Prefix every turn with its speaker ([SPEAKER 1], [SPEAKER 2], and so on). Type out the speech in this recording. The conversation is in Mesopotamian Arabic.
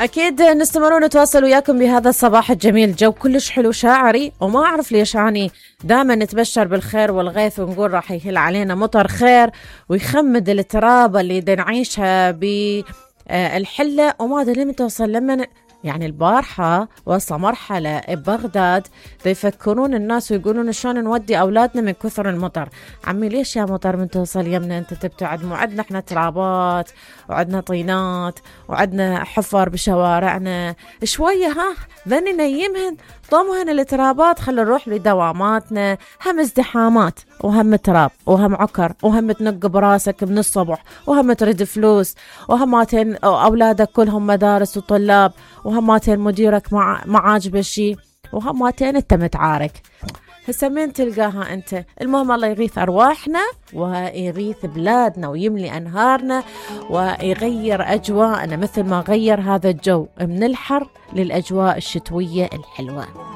[SPEAKER 1] أكيد نستمرون نتواصل وياكم بهذا الصباح الجميل. جو كلش حلو شاعري، وما أعرف ليش أني دائما نتبشر بالخير والغيث ونقول راح يهل علينا مطر خير ويخمد التراب اللي دا نعيشها بالحلة، وما أدري لمن توصل. لما يعني البارحة وصل مرحلة ببغداد يفكرون الناس ويقولون شلون نودي أولادنا من كثر المطر. عمي ليش يا مطر من توصل يمنا أنت تبتعد؟ مو عندنا احنا ترابات وعندنا طينات وعندنا حفر بشوارعنا شوية، ها ذني نيمهن ضمهن الترابات، خلي نروح لدواماتنا. هم ازدحامات وهم تراب وهم عكر وهم تنق براسك من الصبح وهم تريد فلوس وهماتين أولادك كلهم مدارس وطلاب وهماتين مديرك ما عاجبه شي وهماتين انت متعارك. هسه مين تلقاها انت؟ المهم الله يغيث ارواحنا ويغيث بلادنا ويملي انهارنا ويغير اجواءنا مثل ما غير هذا الجو من الحر للاجواء الشتوية الحلوة.